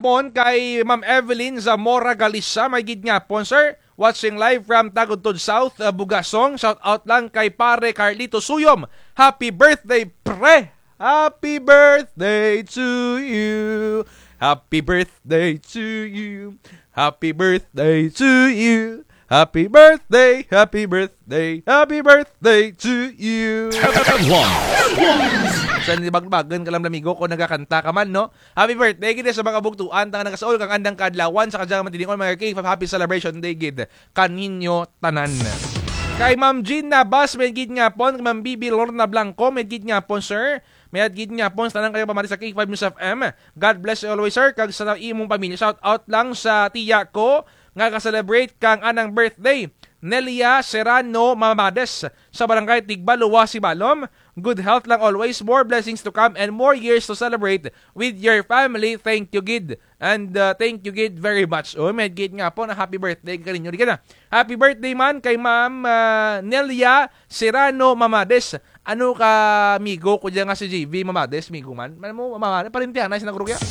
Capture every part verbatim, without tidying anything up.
On kay Ma'am Evelyn Zamora Galisa, may gid nga pon, sir. Watching live from Tagudtod South, uh, Bugasong. Shout out lang kay Pare Carlito Suyom. Happy birthday, pre! Happy birthday to you. Happy birthday to you. Happy birthday to you. Happy birthday, happy birthday, happy birthday to you. Headlines. Sa nibagbagan ka lang, amigo, kung nagakanta ka man, no? Happy birthday gid sa mga kabugtuan, tang nagasaul kang andang kaadlawan, sa kadyang mga tinigon, mga K five, happy celebration day gid kaninyo tanan. Kay Ma'am Jean Nabas, may gid nga pon, kay Ma'am Bibi Lorna Blanco, may gid nga pon, sir. May gid nga pon, sa tanan kadyang pamati sa K five News F M. God bless you always, sir. Kag sa imong pamilya, shout out lang sa tiya ko nga ga-celebrate kang anang birthday. Nelia Serrano Mamades sa barangay Tigbalua, Sibalom. Good health lang always, more blessings to come, and more years to celebrate with your family. Thank you gid. And, uh, thank you gid very much. Oh, may gid nga pon, happy birthday kaninyo. Di ka na. Happy birthday man kay Ma'am, uh, Nelia Serrano Mamades. Ano ka, amigo ko dyan nga si J V Mamades, amigo man. Man mo, Mamades, parintihan na, sinagurugya.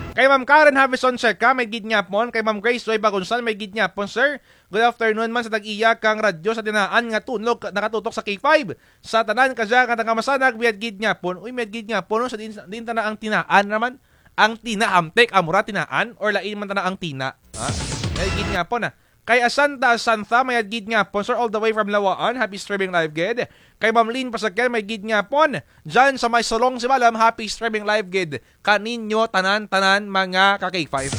Kay Ma'am Karen Havison Seca, may gid nga pon. Kay Ma'am Grace Joy Bagunsan, may gid nga pon, sir. Good afternoon man sa tag-iya kang radyo sa tinaan nga tunog nakatutok sa K five. Sa tanan kadya nga taga Masanag, may gid nga pon. Uy, may gid nga pon, no? Sa din, din tana ang tinaan naman. Ang tina, hamtek, amura, tinaan, or lain man tana ang tina. Ha? May gid nga pon, ah. Kay Asanta Asanta, may gid nga pon, sir, all the way from Lawaan. Happy streaming live gid. Kay Ma'am Lynn Pasakel, may gid nga pon. Dyan sa may Solong, Sibalom, happy streaming live gid kaninyo tanan-tanan, mga ka K five.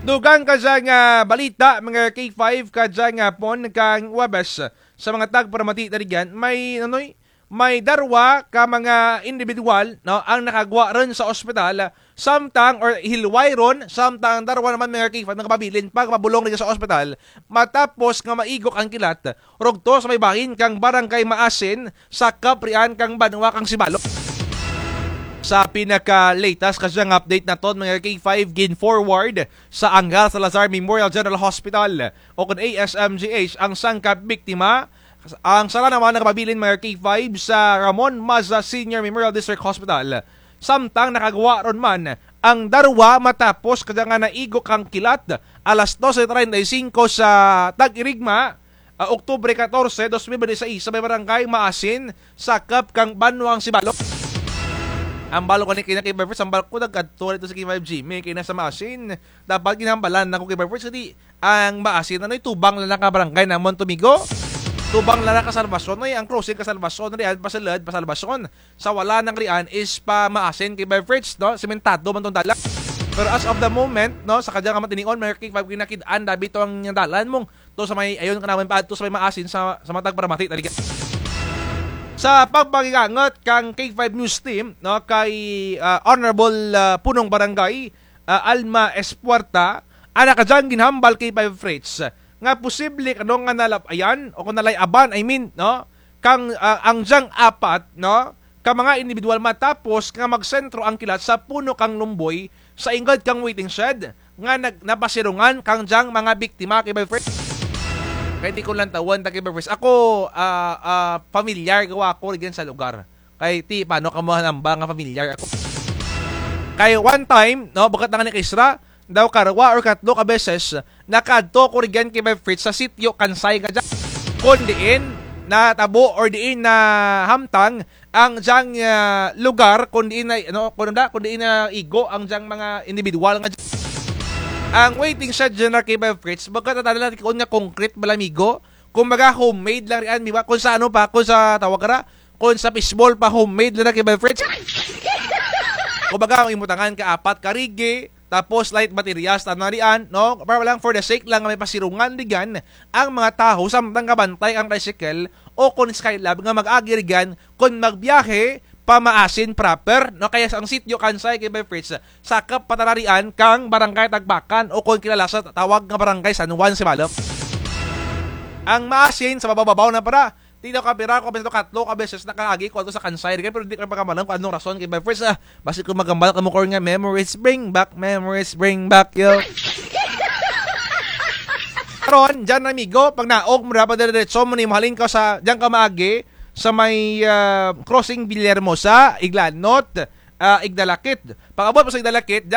Dugang kadya nga balita, mga K five, kadya nga pon kang Huwebes sa mga tagparamati na rugyan, may, anoy, may darwa ka mga individual, no, ang nakagwa run sa ospital, samtang, or hilway run, samtang darwa naman, mga K five, nakapabilin pa, kapabulong rugyan sa ospital, matapos nga maigok ang kilat, rugto sa may bahin kang Barangay Maasin, sakop rian kang banwa kang Sibalom. Sa pinaka-latest kadya nga update naton, mga K five, gin-forward sa Angel Salazar Memorial General Hospital, o kon A S M G H, ang sangka biktima. Ang sara naman nakapabilin, mga K five, sa Ramon Maza Senior Memorial District Hospital. Samtang nakagwa run man ang darwa matapos kadya nga naigok ang kilat alas dose treinta y cinco sa tag-irigma, ah, Oktubre katorse, dos mil bente y seis, sa may Barangay Maasin, sakop kang banwa kang Sibalom. Hambal ko ni kay na, K five Fritz, hambal ko nagkadto rugto si K five Jimmy kay na sa Maasin. Dapat ginhambalan nako, K five Fritz, kay ang Maasin, anoy, tubang lang ka barangay namon, amigo. Tubang lang ka Salvacion, ay, ang crossing ka Salvacion, rian, pasulud, pa Salvacion. Sa wala nang rian is pa Maasin, K five Fritz, no? Sementado man tong dalan. Pero as of the moment, no, sa kadya nga mga tinion, mga K five, kinakid-an dabi to ang dalan mong to sa may, ayon ka naman pa, to sa may Maasin, sa, sa mga tagparamati, talaga. Sa pagpakigangot kang K five News Team, no, kay, ah, Honorable, ah, Punong Barangay, ah, Alma Espuerta, ana kadyang ginhambal, K five Fritz, nga posible kano nga nalap-ayan o kung nalay-aban, I mean, no, kang, ah, ang dyang apat, no, ka mga individual matapos nga magsentro ang kilat sa puno kang lumboy sa ingod kang waiting shed nga nag-, napasirungan kang dyang mga biktima, K five Fritz. Kay di ko lang tawon ta, K five Fritz. Ako, ah, ah, familiar gawa ko rugyan sa lugar. Kay ti, paano ka mo hanambal nga familiar ako? Kay one time, no, bukut na nga ni Kisra, daw karwa or katlo ka beses, nakaadto ko rugyan, K five Fritz, sa sitio Kansay nga dyan. Kon diin natabo or diin nahamtang ang dyang, ah, lugar, kon diin na, ano, kon da, kon diin naigo ang dyang mga individual nga dyan. Ang waiting shed dyan na, K five Fritz, bukut na tana lang nga concrete, bala, amigo. Kumbaga, homemade lang rian, di ba? Kung sa ano pa, kung sa tawag ra, kung sa fishball pa, homemade lang na, K five Fritz. Kumbaga, ang imutangan ka apat ka rigi, tapos light materials, tana rian, no? Para lang for the sake lang nga may pasirungan rugyan ang mga tawo, samtang gabantay ang tricycle o kon Skylab nga mag-agi rugyan kon magbiyahe pa Maasin proper, no? Kaya sa ang sitio Kansay, K five Fritz, sakop pa tana rian kang Barangay Tagbakan o kon kilala sa tawag nga Barangay San Juan, Sibalom. Ang Maasin, sa babaw-babaw na para, ti daw kapira ko, basta katlo ka beses nakaagi ko ato sa Kansay, kay pero di ko pagkamalan kung anong rason, K five Fritz, ah, basi kung magambal kamo ko nga memories bring back, memories bring back, yo. Karon, dyan, amigo, pag naog mo, dapat dire-diretso mo ni, mahalin ka sa, dyan ka maagi, sa may, ah, crossing Villahermosa, Iglanot, ah, Igdalakit. Pag-abot mo sa Igdalakit, dyan,